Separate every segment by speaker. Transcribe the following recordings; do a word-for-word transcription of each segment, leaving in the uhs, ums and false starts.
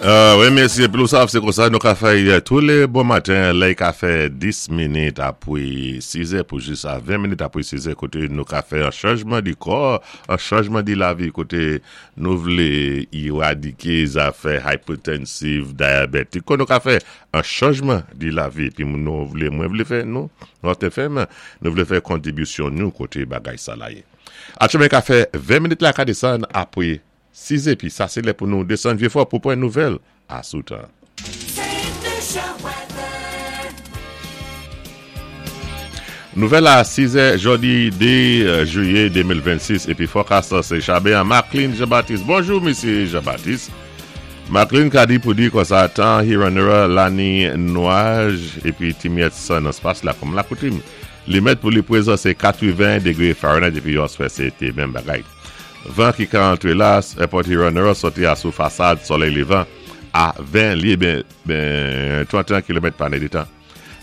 Speaker 1: Euh, wi, mèsi. Épi nou sav, sé kon sa nou ka fè tou lé bon maten, la, i ka fè dis minit apwé sis è pou jis a ven minit apwé sis è, koté nou ka fè an chanjman di kò, an chanjman di lavi, koté nou vlé éradiké zafè hypertensive, diabétique, kon nou ka fè an chanjman di lavi, épi nou vlé, mwen vlé fè, nou, nou té fè, nou vlé fè kontribisyon nou koté bagay sa la yé. Atchoumen ka fè ven minit la ka désann apwé sis épi sa sé lè pou nou désann Vieux-Fort pou pwan nouvèl a sou tan.
Speaker 2: Saint Lucia weather.
Speaker 1: Nouvèl a sis è jòdi dé jwiyé de mil vennsis épi forecast sé Chabé an Maclean Jean-Baptiste. Bonjou, Misyé Jean-Baptiste. Maclean ka di pou di kon sa tan Huron la ni nwaj épi ti myèt san nan spas la kòm la koutim. Li mèt pou li pwézan sé katreven dégwé Fahrenheit épi yon swè sé té menm bagay. Van ki ka antré la, Airport Huron sòti a sou fasad solèy lévan a ven lyé ben, ben tranteyen kilomèt pa nèditan.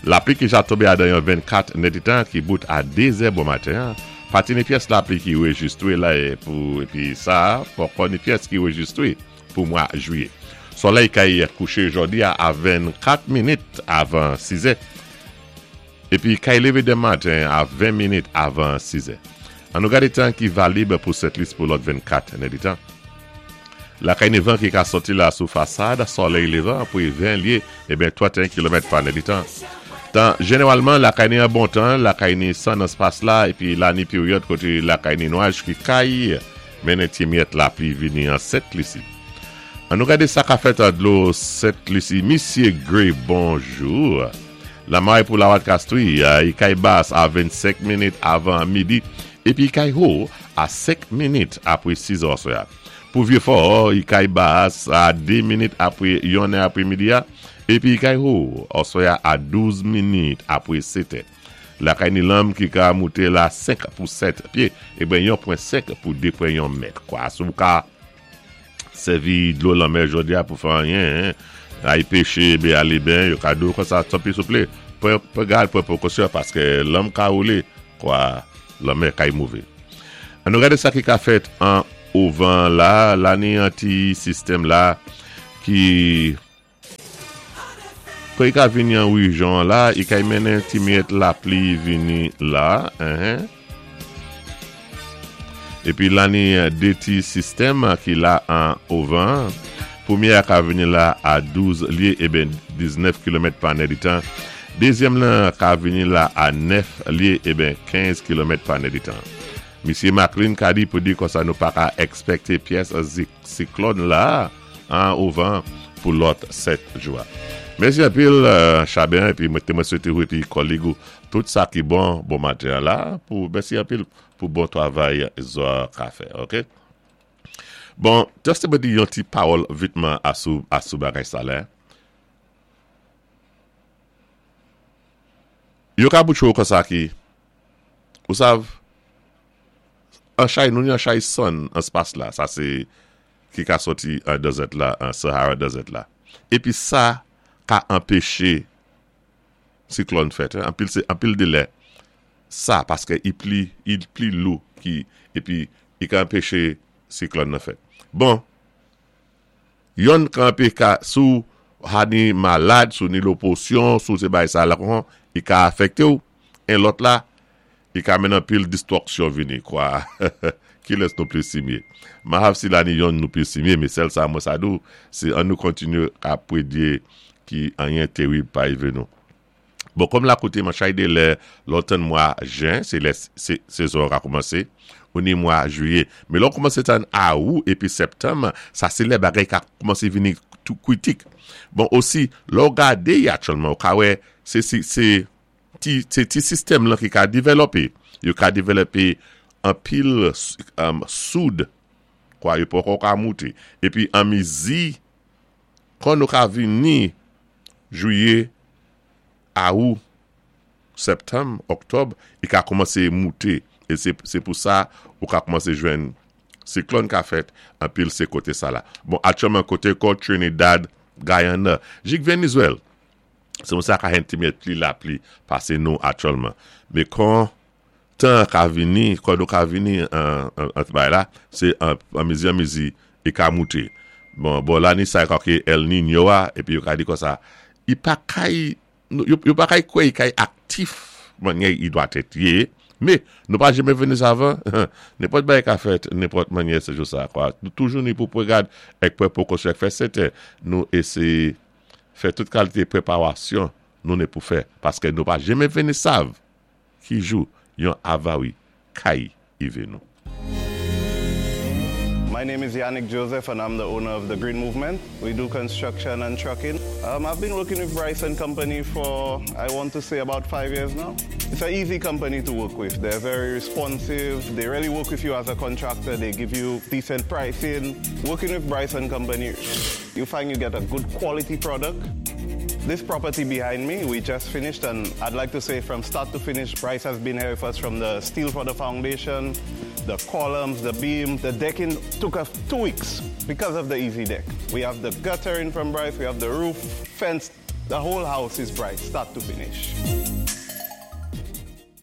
Speaker 1: Lapli ki ja tonbé adan yon vennkat nèditan ki bout a dé zè bon maten. Pa ni pyès lapli ki rejistwé la é pou épi sa poko ni pyès ki rejistwé pou mwa jwiyé. Solèy kay kouché jòdi a a vennkat minit avan sis è. Épi kay lévé denmen maten a ven minit avan sis è. An nou gadé tan ki valib pou Sent Lis pou lòt vennkat nèditan. Lakay ni van ki ka sòti la sou fasad, solèy lévan pou ven lyé, eben tranteyen kilomèt pa nèditan. Tan, jénéwalman, lakay ni an bon tan, lakay ni san nan spas la, épi la ni péryòd koté lakay ni nwaj ki kay, mennen ti myèt lapli vini an Sent Lisi. An nou gadé sa ka fèt an dlo Sent Lisi. Misyé Gray, bonjou. Lamaré pou la Castries, i kay bas a vennsenk minit avan midi, épi i kay wo a senk minit apwé sis è oswè. Pou Vieux-Fort, i kay bas a dé minit apwé yon è apwé midi a, épi i kay wo oswè a douz minit apwé sèt è. Lakay ni lanm ki ka mouté la senk pou sèt pyé, eben yon pwen senk pou de pwen yon mèt. Kwa, sou ka sèvi dlo lanmè jòdi a pou fè anyen, ay péché, bé alé ben, yo ka di ou kon sa, tanpwi souplé, pwan gad, pwan pwékosyon, paské lanm ka woulé, kwa, lanmè kay mouvé. An nou gadé sa ki ka fèt an ouvan la, la ni an ti sistèm la, ki kon i ka vini an wijyon la, i kay mennen ti myèt lapli vini la, hein. Épi la ni dé ti sistèm ki la an ouvan, pwémyé a ka vini la a douz lyé, eben diznèf kilomèt pa nèditan. Dézyèm lan ka vini la a nèf lyé, eben kenz kilomèt pa nèditan. Misyé Maclean ka di pou di kon sa nou pa ka èkspèkté pyès siklòn la an ouvan pou lòt sèt jou. Mèsi anpil, Chabin, épi mwen mwen swété ou épi kòlèg ou tout sa ki bon, bon maten la, pou mèsi anpil pou bon twavay zo ka fè, ok? Bon, just mwen di yon ti pawòl vitman asou, asou bagay sa la. Yo ka boutchou kon sa ki, ou sav, an chay, nou ni an chay son an spas la, sa sé ki ka soti an desert la, an Sahara Desert la. Épi sa ka anpéché siklòn fèt, anpil, sé, anpil de lè, sa, paské i pli, i pli lou ki, épi i ka anpéché siklòn nan fèt. Bon, yon ka anpé ka, sou hani malad, sou ni loposyon, sou sé bay sa la kon, i ka afèkté ou, en lòt la, i ka mennen anpil distwaksyon vini, kwa, ki lès nou pli simyé. Mahav si la ni yon nou pli simyé, mé sèl sa mwen sa dou, sé an nou kontinyé a pwédyé ki anyen térib pa yivé nou. Bon, kòm la koté man chay de lè lòtan mwa jen, sé lè sézon ka kòmansé, ou ni mwa jwiyé. Mé lò kòmansé tan awou épi septanm, sa sé lè bagay ka kòmansé vini tou kwitik. Bon, osi, lò gadé aktyèlman, ou ka wè, sé sé sé ti, sé ti sistèm lan ki ka dévlopé. Yo ka dévlopé anpil um, soud, kwa yo poko ka mouté. Épi an mizi, kon nou ka vini jwiyé, awou, septanm, oktòb, i ka kòmansé mouté. É sé, sé pou sa ou ka kòmansé jwenn siklòn ka fèt, anpil sé koté sa la. Bon, aktyèlman koté kon Trinidad, Guyana, jik Vénézwèl, sé moun sa ka hen ti myèt pli lapli pasé nou aktyèlman. Mé kon tan ka vini, kon nou ka vini an, an, an bay la, sé an, an mizi an mizi, i ka mouté. Bon, bon, lanni sa ki El Niño a, épi yo ka di konsa, i pa kay, yo, yo pa kay kwè i kay aktif mannyè i dwatèt yé, mé nou pa jenmen vini savan, nenpòt bagay ka fèt, nenpòt mannyè sé jou sa, kwa. Nou toujou ni pou pwégad èk pwan pwékosyon fè sèten, nou éséyé fè tout kalité pwéparasyon nou ni pou fè, paské nou pa jenmen vini sav ki jou yon avari kay ivé nou.
Speaker 3: My name is Yannick Joseph and I'm the owner of the Green Movement. We do construction and trucking. Um, I've been working with Bryce and Company for, I want to say, about five years now. It's an easy company to work with. They're very responsive. They really work with you as a contractor. They give you decent pricing. Working with Bryce and Company, you find you get a good quality product. This property behind me, we just finished, and I'd like to say from start to finish, Bryce has been here with us from the steel for the foundation, the columns, the beam, the decking took us two weeks because of the easy deck. We have the guttering from Bryce, we have the roof, fence, the whole house is Bryce, start to finish.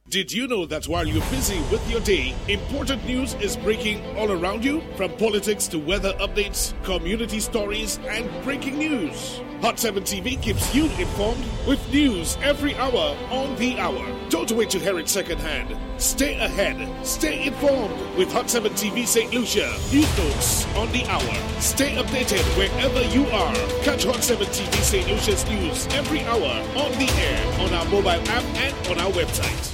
Speaker 4: Did you know that while you're busy with your day, important news is breaking all around you? From politics to weather updates, community stories, and breaking news. Hot seven T V keeps you informed with news every hour on the hour. Don't wait to hear it secondhand. Stay ahead. Stay informed with Hot seven T V Saint Lucia. News notes on the hour. Stay updated wherever you are. Catch Hot seven T V Saint Lucia's news every hour on the air, on our mobile app, and on our website.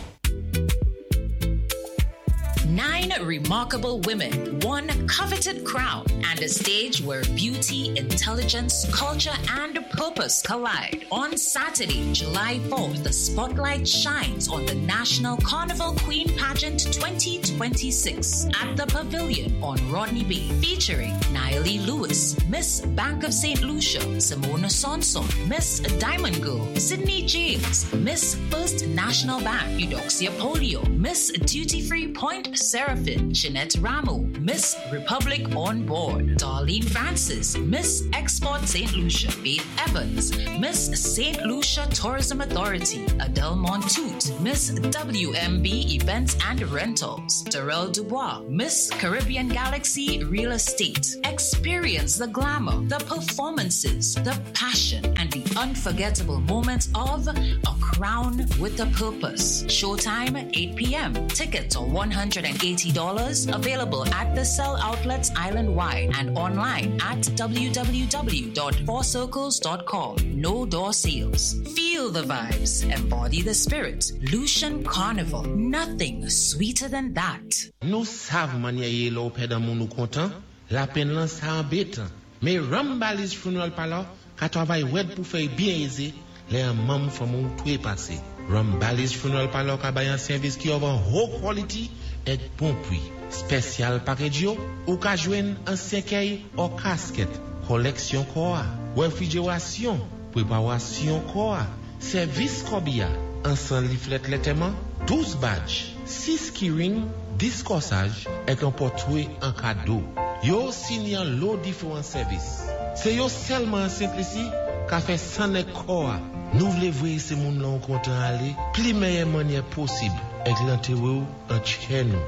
Speaker 2: Nine remarkable women, one coveted crown, and a stage where beauty, intelligence, culture, and purpose collide. On Saturday, July fourth, the spotlight shines on the National Carnival Queen Pageant twenty twenty-six at the Pavilion on Rodney Bay, featuring Nayeli Lewis, Miss Bank of Saint Lucia, Simona Sonson, Miss Diamond Girl, Sydney James, Miss First National Bank, Eudoxia Polio, Miss Duty Free Point Seraphine, Jeanette Ramo, Miss Republic on Board, Darlene Francis, Miss Export Saint Lucia, Faith Evans, Miss Saint Lucia Tourism Authority, Adele Montoute, Miss W M B Events and Rentals, Darrell Dubois, Miss Caribbean Galaxy Real Estate. Experience the glamour, the performances, the passion, and the unforgettable moments of a crown with a purpose. Showtime eight p m. Tickets are one hundred eighty dollars, available at the Sell outlets island wide and online at w w w dot four circles dot com. No door sales. Feel the vibes, embody the spirit. Lucian Carnival. Nothing sweeter than that.
Speaker 5: Nou sav mannyè yé lè ou pèd an moun ou kontan, lapenn lan sa anbétan. Mé Rambali's Funeral Parlor ka twavay wèd pou fè byen ézé lè an manm fanmi ou twé pasé. Rambali's Funeral Parlor ka bay an sèvis ki of an haut quality èk bon pwi. Special package yo, ou ka jwenn an sèkèy ou kasket, koleksyon kò a, wefrijerasyon, pweparasyon kò a, sèvis kòbiya, ansan leaflet lantèman, douz badge, sis keyring, dis kòsaj, èk an pòtwé an kado. Yo sini an lo diferan sèvis. Sé yo sèlman an Sent Lisi ka fè san èk kò a. Nou vlé vwé sé moun lan ou kontan alé, pli mèyè mannyè posib, èk lantéwé ou an tchè nou.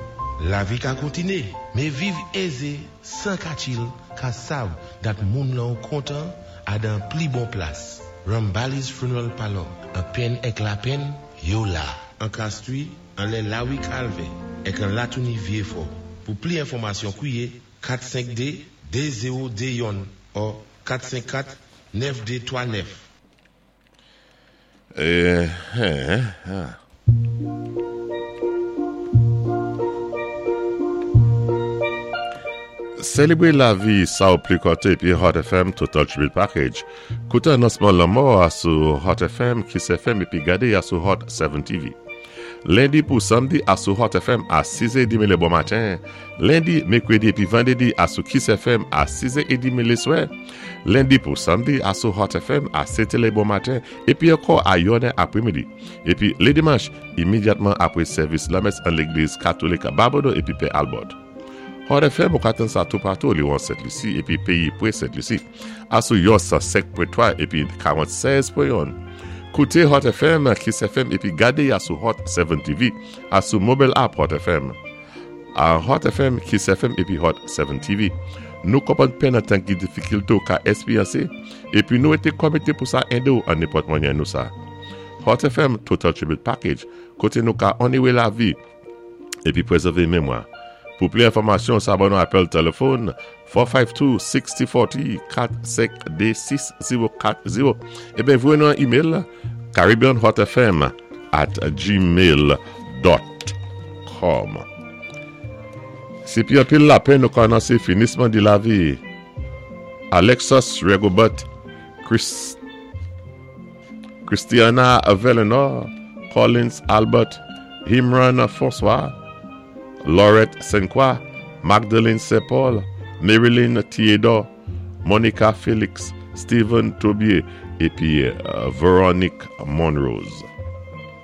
Speaker 5: Lavi ka kontiné, mé viv ézé, san ka chill, ka sav dat moun lan ou kontan a dan pli bon plas. Rambali's Funeral Parlor, an penn èk lapenn, yo la. An Castries, an lè Lawi Calvé, èk an Latouni Vieux-Fort. Pou pli enfòmasyon kwiyé kat senk de de zewo de youn ou kat senk kat nèf de twa nèf.
Speaker 1: Eh, eh, ah. Sélébré lavi sa ou pli konté épi Hot F M Total Tribute Package. Kouté anonsman lanmò a sou Hot F M, Kiss F M épi gadé a sou Hot seven T V. Lendi pou samdi a sou Hot F M a sis è edmi lé bon maten. Lendi, mèkwédi épi vandédi a sou Kiss F M a sis è edmi lé swè. Lendi pou samdi a sou Hot F M a sèt lé bon maten épi ankò a yonn è apwémidi. Épi lé dimanch, imédyatman apwé sèvis lamès an légliz katolik Babonneau épi Pè Albert. Hot F M ou ka tann sa toupatou li an Sent Lisi épi péyi pwé Sent Lisi. A sou yon san senk pwen twa épi karanntsèz pwen youn. Kouté Hot F M, Kiss F M épi gadé a sou Hot seven T V, a sou mobile app Hot F M. A Hot F M, Kiss F M épi Hot seven T V. Nou konpwann penn an tan ki difikilté ou ka èspéryansé, épi nou été komité pou sa édé ou an nenpòt mwanyen nou sa. Hot F M Total Tribute Package, koté nou ka onoré lavi épi pwézèvé mémwa. Pou plis enfòmasyon, sa ban nou apèl téléfòn kat senk de, sis zewo kat zewo, kat senk de, sis zewo kat zewo. Ébyen, voyé nou an email caribbeanhotfm at gmail dot com. Sé pi anpil lapenn nou ka anonsé finisman di lavi Alexos Regobert, Chris, Christiana Velenor, Collins Albert, Himran François, Laurette Senqua, Magdalene Sepol, Marilyn Theodore, Monica Felix, Stephen Tobier épi euh, Veronique Monrose.